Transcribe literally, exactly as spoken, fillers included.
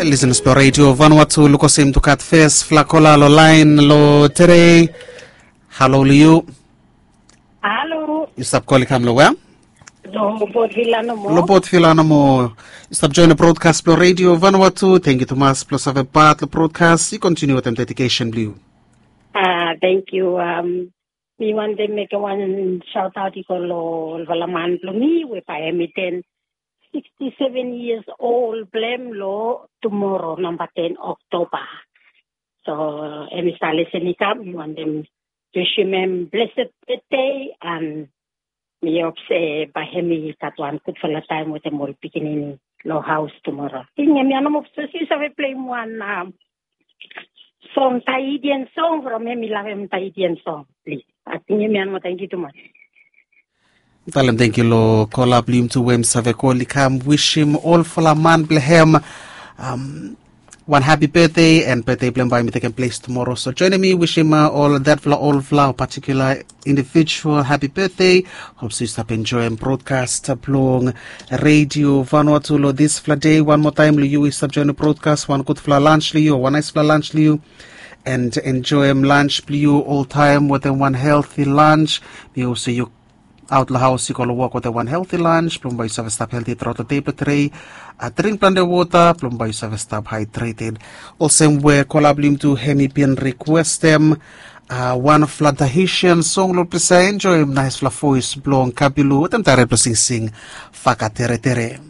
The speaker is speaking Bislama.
Lisenas blong redio Vanuatu, lukosim tu gat fes flakola long lain long tedei. Halo long yu. Halo. Yu stap kol i kam long wea? Long Port Vila nomo. Long Port Vila nomo. Yu stap join long brodkas blong redio Vanuatu. Tengkiu tumas blong save pat long brodkas. Yu kontiniu wetem dedikesen blong yu. A, tengkiu. Mi wantem mekem wan saotaot i go long olfala man blong mi we bae hem i ten siksti seven yias ol blong hem long tumoro namba ten Oktoba. So hem i stap lesen i kam, mi wantem wisim hem blesed betdei, an mi hop se bae hem i gat wan gudfala taem wetem ol pikinini long haos tumoro. Tingim ya nomo, sapos yu save pleim wan song, Tahitian song from hem, mi lavem Tahitian song, plis. Ating hem ya nomo, tangkiu tumas. Talem tangkiu long kola blong yumi tu we hem save kol i kam wisim olfala man blong hem wan hapi betdei, an betdei blong hem bae mi tekem ples tumoro. So joinim mi wisim ol detfala olfala o patikula individual hapi betdei. Hop se yu stap enjoem brodkas blong redio Vanuatu long disfala dei. Wan moa taem long yu we yu stap joinim brodkas, wan gudfala lans long yu o wan naesfala lans long yu. An enjoem lans blong yu oltaem wetem wan helti lans. Mi hop se yu aot long haos i go long wok wetem wan helti lans blong bae yu save stap helti truaot long dei blong tedei. Dring plante wota blong bae yu save stap haedreted. Olsem we kola blong yumi tu hem i bin rikwestem wanfala Tahitian song long ples ia, enjoem naesfala voes blong Kabilu wetem taret blong singsing Fakateretere.